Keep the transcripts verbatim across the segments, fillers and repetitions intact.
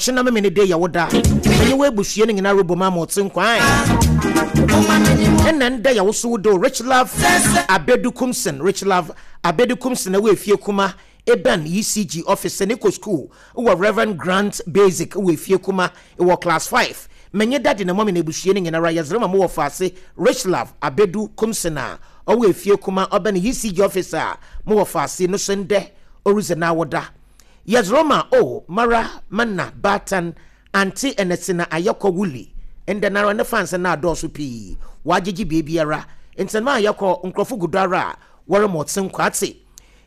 Ɔkyena me ne de yɛ wo da. Menye wo abusua no nyinaa rebɔ mu ama ɔte nkwan. Ɛna ndɛ yɛ wo so wo do Rich Love Abedu Kumsin, Rich Love Abedu Kumsin ɛwɔ efie kuma eben E C G office ne kɔ school wɔ Reverend Grant Basic wɔ efie kuma wɔ class five. Menye daddy na mummy na ebusua no nyinara yɛdze ma mo wɔ faase Rich Love Abedu Kumsin a ɔwɔ efie kuma ɔbɛn E C G office a mo wɔ faase no so ndɛ oridzi na awoda. Yɛdze ma o mara mana baatan ante ɛnɛsi na ayɛkɔ wuli ndɛ nara ne fans na adɔɔso pii wagyegye beebiara ntɛnɛm a yɛkɔ nkurɔfo gu do ara a wɔrema ɔte nkwate.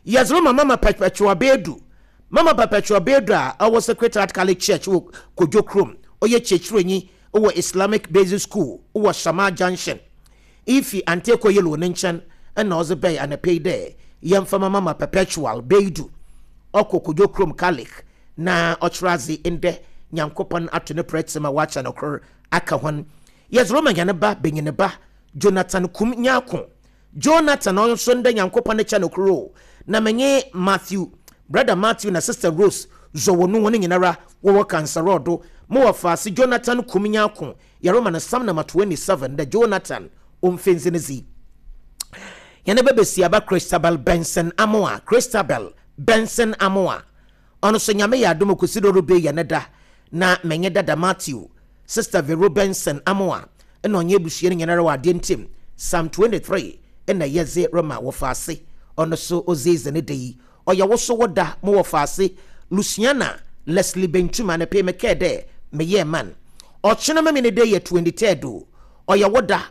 Yɛdze ma Mama Perpetua Beedu, Mama Perpetua Beedu a ɔwɔ Sacred Heart Catholic Church wɔ Kodwo kurom, ɔyɛ kyerɛkyerɛnyi wɔ Islamic Basic School wɔ Shama Junction ifi Anteko Yellow ne nkyɛn ɛna ɔdze bɛyɛ anapɛ yi dɛ yɛmfa ma Mama Perpetual Beedu ɔkɔ Kodwo kurom Catholic na ɔkyerɛ adze. Ndɛ Nyankopɔn ato ne prɛte ma wakyɛ no kor aka hɔn. Yɛdze ma nyane ba benyine ba Jonathan Kum Nyako Jonathan, ɔno nso ndɛ Nyankopɔn kyɛ no koro na menye Matthew, Brother Matthew na Sister Rose zɔwɔ no wɔn nyinara wɔwɔ kansarɔdo mo wɔ faase. Jonathan Kum Nyako, yɛrema no Psalm number twenty-seven dɛ Jonathan ɔmfɛnsi ne zi. Yɛne bɛbɛsi aba Christabel Benson Amoa, Christabel Benson Amoa, ɔno nso Nyame yɛ adom kosi do rebe yɛ ne da na menye dada Matthew, Sister Vero Benson Amoa ɛna ɔnyɛ abusua no nyinara wɔ adeɛ ntim Psalm twenty-three ɛna yɛdze rema wɔ faase. Ɔno so ɔdzedze ne da yi ɔyɛ wo so wo da mo wɔ faase Luciana Leslie Bentuma ne pe mekɛɛ dɛ meyɛ man. Ɔkyena ma mi ne de yɛ twenty-third o, ɔyɛ wo da.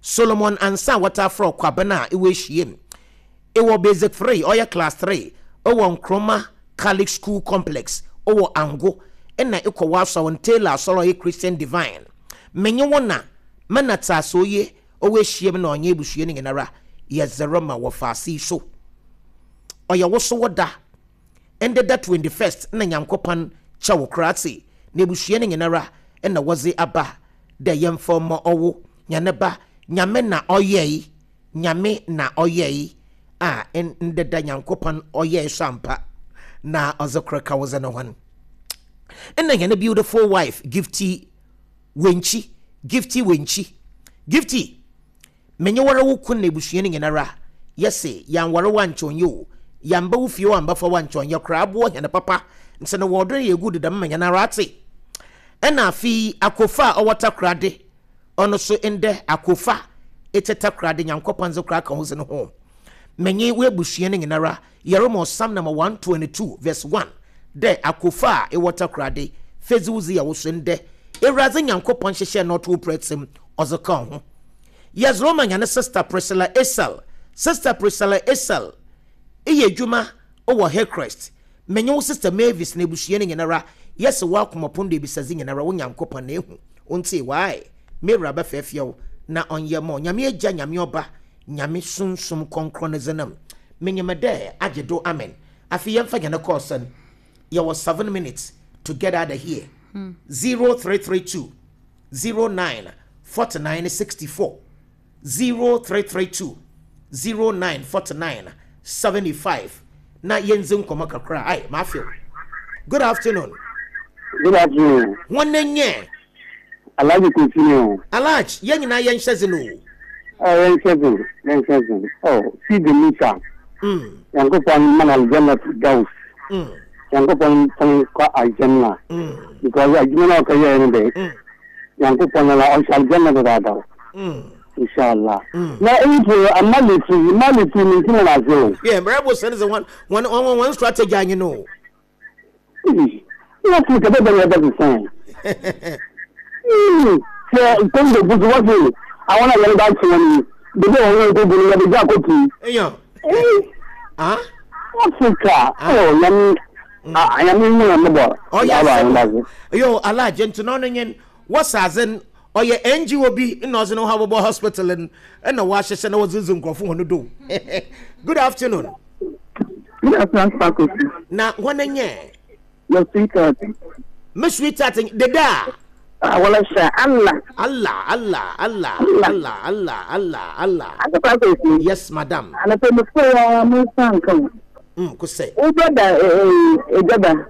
Solomon Ansa wɔta frɛ Kwabena a ɛwɔ ehyiam ɛwɔ basic three, ɔyɛ class three ɛwɔ Nkroma Catholic School Complex ɛwɔ Ango ɛna ɛkɔ wɔ asɔrɔ Taylor asɔrɔ ɔyɛ Christian Divine. Menye wo na mɛna te ase oye ɔwɔ ehyiam na ɔnyɛ ebusua no nyinara yɛdze ma wɔ faase yi so ɔyɛ wo so wo da. Ɛndɛ da twenty-first na Nyankopɔn kyɛ wo koraa na ebusua no nyinara ɛna wɔdze aba dɛ yɛmfa ma ɔwo nyane ba. Nyame na ɔyɛe, Nyame na ɔyɛe a ndɛ da Nyankopɔn ɔyɛe so ampa na ɔdze koro ka wo dze no hɔn. Ɛna hɛn beautiful wife Gifty Wenkyi, Gifty Wenkyi, Gifty, menye wara wo kun na ebusua no nyinara yɛse yɛanware wa nkyɛn o, yɛamba wo fie o, ambafa wa nkyɛn yɛ koraa aboɔ hɛn papa nti no wɔɔdo no yɛ gu deda ma hɛn ara ate. Ɛna afei Akofa a ɔwɔ Takorade, ɔno so ndɛ Akofa ete Takorade Nyankopɔn dze koraa ka ho dze no ho menye wo abusua no nyinara yɛrema Psalm number one twenty-two verse one dɛ Akofa a ɛwɔ Takorade fedzi wo dze yɛ wo so ndɛ Ewuradze Nyankopɔn hyehyɛ na ɔto prɛtɛm ɔdze ka ho. Yɛdze ma nyane Sister Priscilla Esel, Sister Priscilla Esel eyɛ adwuma wɔ Hillcrest. Menye wo Sister Mavis na ebusua no nyinara yɛsɛ wɔ de ebisadze nyinara wo Nyankopɔn na ehu wontie wae mewura bɛfɛɛfɛw na ɔnyɛ ma Nyame Agya, Nyame Ɔba, Nyame Sunsum Kɔnkrɔn ne dzenam menyim dɛ agye do. Amen. Afei yɛmfa nyane kɔɔ sɛn yɛwɔ seven minutes to get out of here. zero three three two zero nine forty-nine sixty-four, zero three three two zero nine forty-nine seventy-five na yɛndzi nkɔmmɔ kakra. Ai maafew, good afternoon. Good afternoon. Wɔn nyɛ Alhaji Kofi ni o. Alhaj, yɛn nyinaa yɛnhyɛ dze no o. Ɔ yɛnhyɛ dzen, yɛnhyɛ dzen. Ɔ Sidi Musa. Mm, Yankopɔn mana aljanna firdaus. mm, Yankopɔn pɔn kɔ aljanna. mm, Because adwuma na ɔkɛyɛ no de. mm, Yankopɔn na ɔhyɛ aljanna dadaada. mm. Inshallah. Mm. Na eyi po amali fi mali fi mi ntina na ase o. Yeah, mmerɛ bo sɛne sɛ wɔn wɔn wɔn wɔn strategy anyi no. Na fi kɛbɛ bɛ yɛ bɛ sisan. Sɛ Congo busu wɔsi àwọn náà yɛn bá tiwọn ni bebe wɔn yɛn ko gu ni yɛ bɛ gya ko pii. Ɛyàn ah. Africa, oh, nyame nyame mu na mɔbɔ. Ɔyɛ asɛm yo Alhaji nti na ɔno nyɛ wɔsaadze no ɔyɛ N G O bi na ɔdze ne ho abobɔ hospital no ɛna wɔahyehyɛ na wɔdze dzi nkurɔfo wɔn do. Good afternoon. Good afternoon, Faculty. Na wɔn nyɛ Your sweetheart. Me sweetheart deda. Ah, wala sha Allah. Allah, Allah, Allah. Allah. Allah, Allah, Allah, Allah. Aka Faculty. Yes, madam. Ana pe mo fo ya mo san kan. mm kosɛ Wo brother eh eh Ejaba.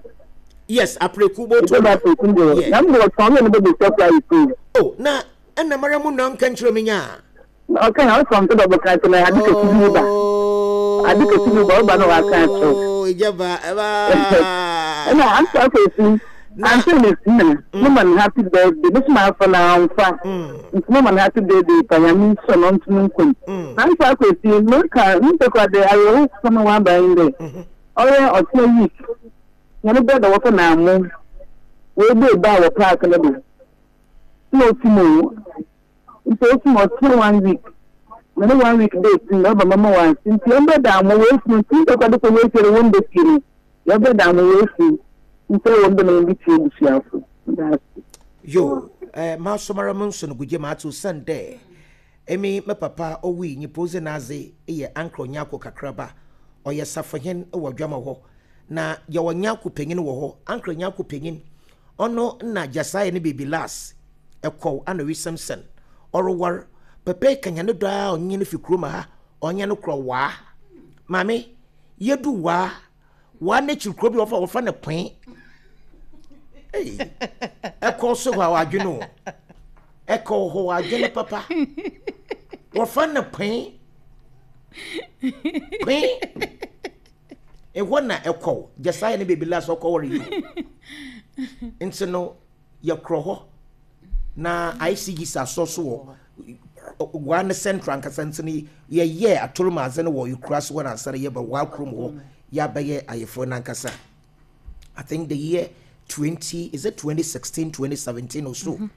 Yes, Apreku boto. Ebe Apreku de. Na mo wɔtɔn ne bɛ surprise too. Oh, na ɛna mara mu na nka nkyerɛ me nya. Okay, I from to double kan na ade kesi bi ba. Ade kesi bi ba ba na wa kan so. Oh, ijaba eba. Ɛna ansa kwesi. Ansa ne sina. Mo man happy birthday. Mo ma fa na amfa. Nti mo man happy birthday pa ya mi so no ntunu nkun. Ansa kwesi mo ka nte kwa de ayo so no wa ba inde. Oye otie week. Na ne brother wo na mo. We be ba wo park no do. No timo. Nti o timo two one week. Na ne one week day tin na ba mama wan nti o be da mo we fu nti kwa de ko we fere won de firi. Ya be da mo we fu. Nti o won de na bi tie busuafo. Yo, eh ma somara mo nso no guje ma to Sunday. Emi me papa owi nyi pose na aze ye ankro nyako kakraba. Oye safohen e wo dwama ho. Na ye wo nyako panyin wo ho. Ankro nyako panyin. Ono na Jasai ne baby last. Ekɔ ana wi Samson. Orowar pepe kanya ne do a onye ne fikro ma ha. Onye no kro wa. Mame yedu wa. Wa ne chikro bi ofa ofa ne pwen. Hey. Ekɔ so ho adwene o. Ekɔ ho adwene papa. Ofa ne pwen. Pwen. E wona ekɔ Jasai ne baby last okɔ wori you. Nti no ye kro ho. Na I C G sa so so wo one central ankasa ntini ye ye atoro maze no wo yukura so na ansare ye ba wa krom ho ya ba ye ayefo na ankasa. I think the year twenty is it twenty sixteen, twenty seventeen or so. Mm-hmm.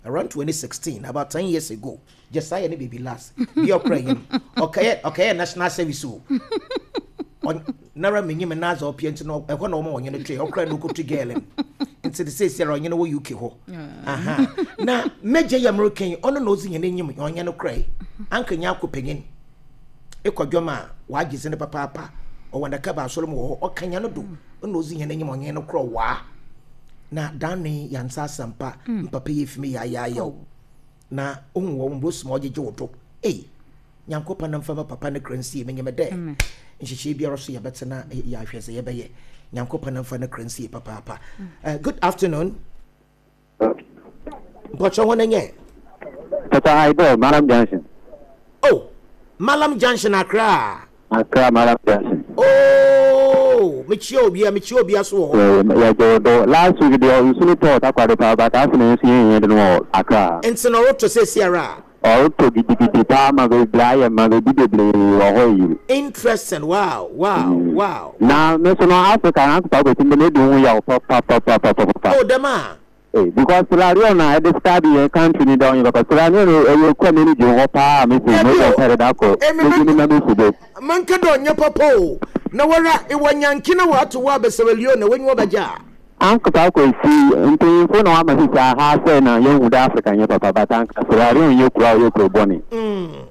Around twenty sixteen, about ten years ago. Josiah ne baby last. Bi okra him. Okay, okay, national service o. On nara menyim na za opie ntino ehɔ na wo ma onye no twe okra no kotu girl. Nti de say say onye no wo U K ho. Aha. Na meje ya American ono na ozi nyene nyim onye no kra. Anka nya akɔpanyin. Ekodwoma wa agye ne papa papa. O wanda ka ba asoro mu ho okanya no do. Ono ozi nyene nyim onye no kra wa. Na dane yansa sampa mpapa ye fimi ya ya ya. Na ohun wo mbo smo gege wo do. Eh. Nyankopa na mfa papa ne kransi me nyeme de. Nhyehyɛ biara so yɛbɛtena ya ahwɛ sɛ yɛbɛyɛ. Nyankopa na mfa ne kransi papa papa. Uh, good afternoon. Mpocho ho nenye. Tata Aibo, Malam Junction. Oh, Malam Junction Accra. Accra Malam Junction. Oh, me chi obi, me chi obi aso ho. Yeah, yeah, last week the nsu to takwade pa but after nsu yen yen no Accra. Nti no roto se siara. Auto gidigidi pa ma be blaya ma be bibeble wo ho yi. Interesting. Wow, wow, mm. wow. Na me so no Africa na pa go tin me do ho ya pa pa pa pa pa pa. Oh, dema. Eh, because Sierra Leone na the study in country ni down because Sierra Leone e you come ni jo ho pa me se no go pere da ko. Me ni na me se do. Man ka do nya papa o. Na wara e wanyanki na wa to wa be Sierra Leone wenyi wo baja. Anka pa ko si mpanyinfo na wa ma sisi aha sɛ na yɛn hu da Africa nyɛ papa but anka Sierra Leone yɛ kura yɛ kuro bɔne. Mm.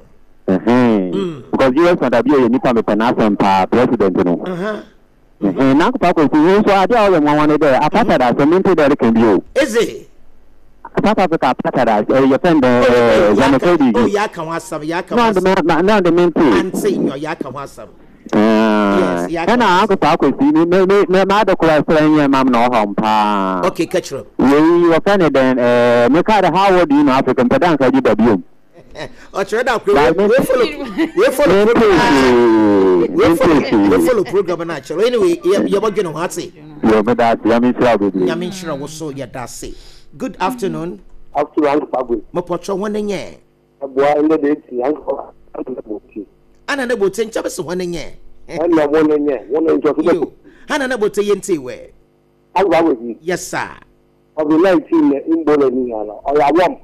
Mm. Because U S na dabi yɛ nipa mepɛ n'asɛm paa president no. Mhm. Na anka pa ko si nso ade a ɔyɛ nwanwa ne dɛ apartheid asɛm nti dɛ ɛreka bi o. Eze. South Africa apartheid ɛyɛ fɛn dɛ xenophobia. Oh, yɛ aka ho asɛm, yɛ aka ho asɛm. Na na de mente. Ante nyɔ yɛ aka ho asɛm. Yes, ɛna anka pa ko si me me me ma de kura sɛ nyɛ mam na ɔhɔ mpa. Okay, catch up. We were kind of then eh me ka how would you know African pedan ka ji da biom. O chere da we follow we follow program. We follow we follow program na chere. Anyway, ye bo dwene ho ate. Yo me da ya me sira obi. Nya me nshira wo so ye da se. Good afternoon. Afternoon anka pa go. Mo pocho ho ne nye. Aboa ende de ti anka na bo ti. Ana na bo ti ncha be se ho ne nye. Ana bo ne nye. Wo ne ncho so. Ana na bo ti yente we. Agwa we. Yes sir. Of the nineteen in Bologna or ya wom.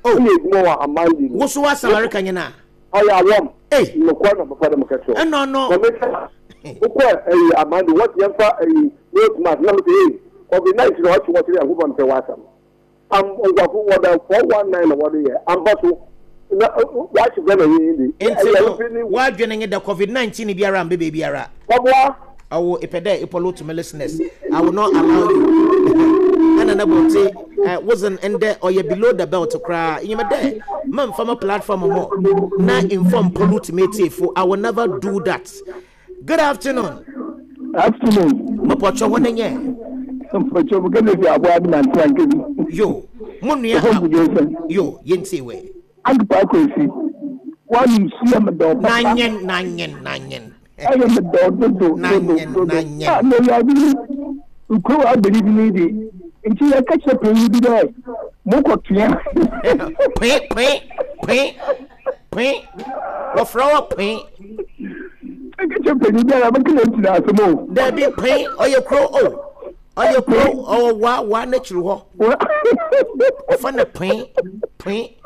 Oh, ni mo wa amandi. Wo so wa America nyina. Or ya wom. Eh, no kwa na papa dem ka so. Eh no no. Wo kwa eh amandi what yem fa eh road map na me eh of the nineteen what what ya go on pe wasam. Am ngwafo wo da four one nine wo de ye. Ambaso na wa chi gbe na yin di. Enti wa dwene nge da COVID nineteen biara mbe be biara. Obwa awo ipede ipolo to my listeners. I will not allow you. And another uh, wasn't in there or you below the belt to cry. You there. Man from a platform or more. Now inform pollute me for I will never do that. Good afternoon. Afternoon. Mapocho one nye. Mpacho mukene fi aboa bi na ntia nkebi. Yo, mo nua yo, yenti we. Agpa kwesi. Wanu suya me do papa. Nanyen nanyen nanyen. Aye me do do do do do. Ah no ya bi. Uko abiri bi di. Nti ya ka che panyin bi dai. Mo kotua. Pe pe pe pe. Wo frawa pe. Ka che panyin bi ara ba kile ntina asemo. Da bi pe oye kro o. Oye kro o wa wa na chiri ho. Fa na pe pe.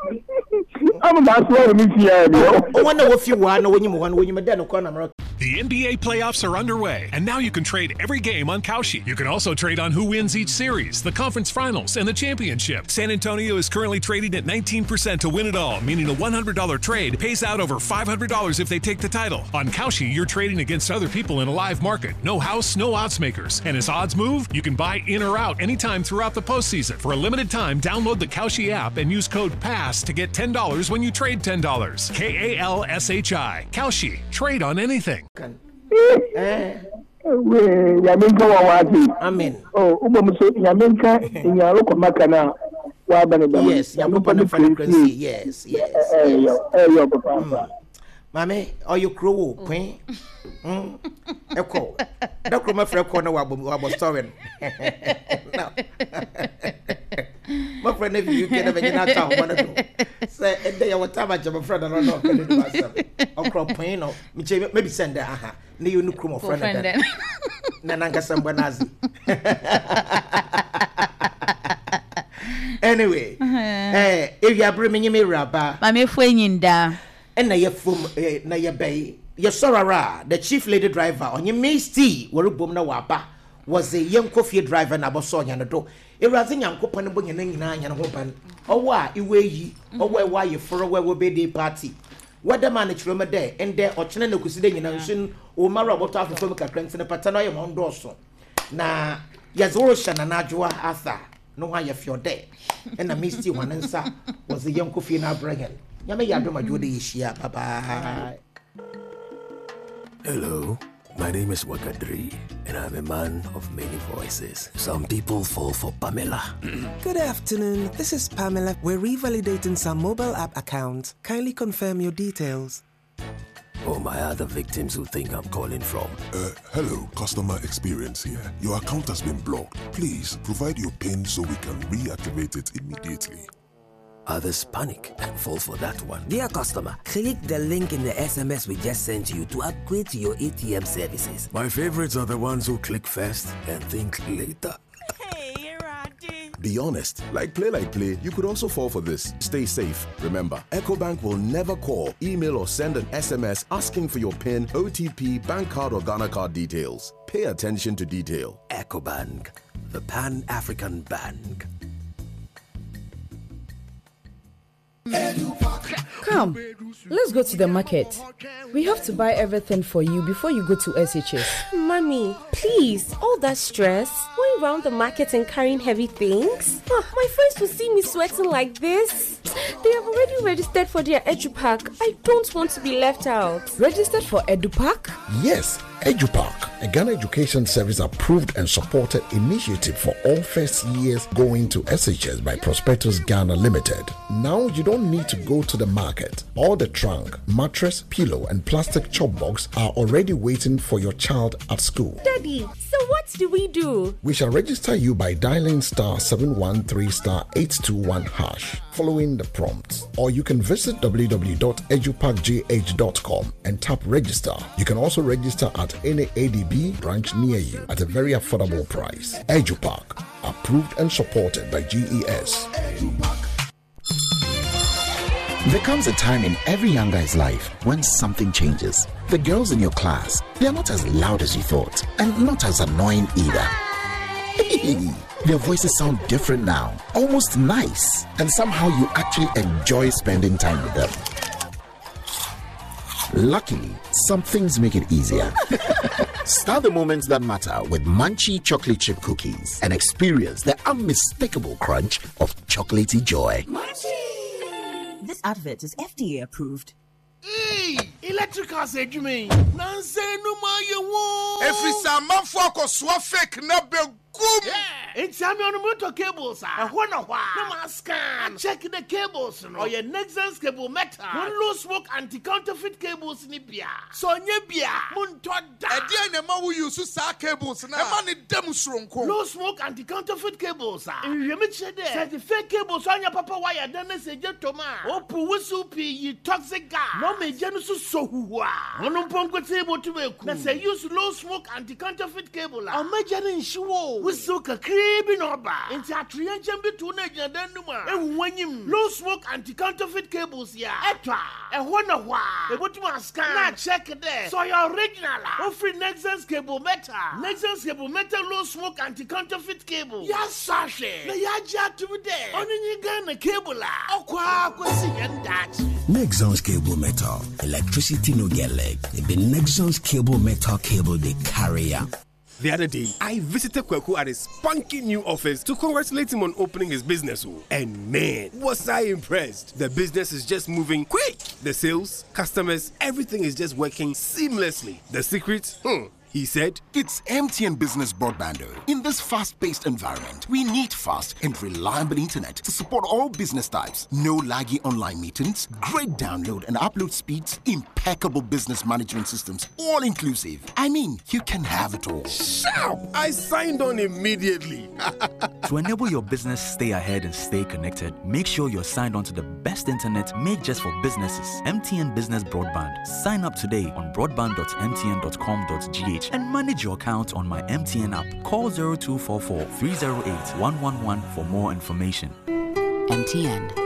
Am ma so mi fia ni. O wa na wo fi wa na wonyim ho na wonyim da no kwa na mra. The N B A playoffs are underway, and now you can trade every game on Kalshi. You can also trade on who wins each series, the conference finals, and the championship. San Antonio is currently trading at nineteen percent to win it all, meaning a one hundred dollar trade pays out over five hundred dollars if they take the title. On Kalshi, you're trading against other people in a live market. No house, no odds makers. And as odds move, you can buy in or out anytime throughout the postseason. For a limited time, download the Kalshi app and use code PASS to get ten dollars when you trade ten dollars. K A L S H I. Kalshi. Trade on anything. Eh. We yaminka wa wati. Amen. Oh, ubo muso yaminka inyaro ko makana wa bane ba. Yes, yakopa na frequency. Yes, yes. Eh yo, eh yo papa. Mame, are you crow queen? Mm. Echo. Da kro ma frɛ ko na wa wa bo story. No. My friend if you can never get out one do. Say e dey your time a friend no no can do myself. Okro point no, me che maybe send there aha. Ne you no kro mo friend dem. Na na nkasa mbo nazi. Anyway, eh if you bring me me raba. Mame fu enyinda. And na ye fum na ye bay. Ye sorara, the chief lady driver on your Misty, were bom na waba was a young coffee driver na boso nya no do. Ewraze nyankopon bo nya nyina nya ho ban. Owo a iwe yi, owo e wa ye foro we wo birthday party. Whether man chiroma there and there ochene na kusi de nyina nso o mara oboto afofo mu kakra ntine pata na ye won do so. Na ye zoro hye na nadwoa Arthur no ho ye fio there. And na Misty wanansa was a young coffee na bragan. Nyame ya dom adwo de yehia. Bye bye. Hello, my name is Wakadri, and I'm a man of many voices. Some people fall for Pamela. Good afternoon, this is Pamela. We're revalidating some mobile app accounts. Kindly confirm your details. Oh, my other victims who think I'm calling from. Uh, hello, customer experience here. Your account has been blocked. Please provide your PIN so we can reactivate it immediately. Others panic and fall for that one. Dear customer, click the link in the S M S we just sent you to upgrade to your A T M services. My favorites are the ones who click first and think later. Hey, Roddy. Be honest. Like play, like play, you could also fall for this. Stay safe. Remember, EcoBank will never call, email, or send an S M S asking for your PIN, O T P, bank card, or Ghana card details. Pay attention to detail. EcoBank, the Pan-African Bank. Come, let's go to the market. We have to buy everything for you before you go to S H S. Mommy, please, all that stress, going round the market and carrying heavy things. Oh, my friends will see me sweating like this. They have already registered for their EduPark. I don't want to be left out. Registered for EduPark? Yes, EduPark, a Ghana Education Service approved and supported initiative for all first years going to S H S by Prospectus Ghana Limited. Now you don't need to go to the market. All the trunk, mattress, pillow, and plastic chop box are already waiting for your child at school. Daddy, so what do we do? We shall register you by dialing star seven one three star eight two one hash, following the prompts. Or you can visit w w w dot edupark g h dot com and tap register. You can also register at any A D B branch near you at a very affordable price. EduPark, approved and supported by G E S. There comes a time in every young guy's life when something changes. The girls in your class, they are not as loud as you thought, and not as annoying either. Their voices sound different now, almost nice, and somehow you actually enjoy spending time with them. Luckily, some things make it easier. Start the moments that matter with Munchie chocolate chip cookies and experience the unmistakable crunch of chocolatey joy. Munchie! This advert is F D A approved. Hey! Electricals adwuma yi nansa enum ayɛ wo. Ɛfiri sɛ amanfoɔ akɔsoa fake na bɛgum. Nti ame ɔno motɔ cables a ɛhɔ na hɔ a na ma scan check the cables no ɔyɛ Nexans cable metal wɔn low smoke anti counterfeit cables ni bia sɛ ɔnyɛ bia montɔ da. Ɛdeɛn na ɛma wo use saa cables no a ɛma ne da mu soronko? Low smoke anti counterfeit cables a nhwehwɛmu kyerɛ dɛ sɛ de fake cables anya papa wire dan na sɛ gye tom a ɔpu wusiw pii yi toxic gas na ɔma egya no so sɔ huhu a ɔno mpo nkotee botum eku na sɛ use low smoke anti counterfeit cable a ɔma gya no nhye wo wusiw kakraa bi na ɔba nti atoyɛ nkyɛn bi to na gyina dan no mu a ehu w'anyim. Low smoke anti counterfeit cables yi a ɛtɔ a ɛhɔ na hɔ a ebotum ascan na check dɛ sɛ ɔyɛ original a ofiri Nexans cable metal. Nexans cable metal low smoke anti counterfeit cable yɛasɔ ahwɛ na yɛagye atom dɛ ɔno nye Ghana cable a ɔkɔ akɔsi yɛn daakye. Nexans cable metal. Electricity no get leg. The Nexans cable metal cable they carry am. The other day, I visited Kweku at his spunky new office to congratulate him on opening his business. oh. And man, was I impressed! The business is just moving quick. The sales, customers, everything is just working seamlessly. The secret? Hmm. He said, It's M T N Business Broadband. oh. In this fast paced environment, we need fast and reliable internet to support all business types. No laggy online meetings, great download and upload speeds, impeccable business management systems, all inclusive. I mean, you can have it all. Sharp! I signed on immediately. To enable your business stay ahead and stay connected, make sure you're signed on to the best internet made just for businesses. M T N Business Broadband. Sign up today on broadband dot M T N dot com dot G H and manage your account on my M T N app. Call zero two four four three zero eight one one one for more information. M T N.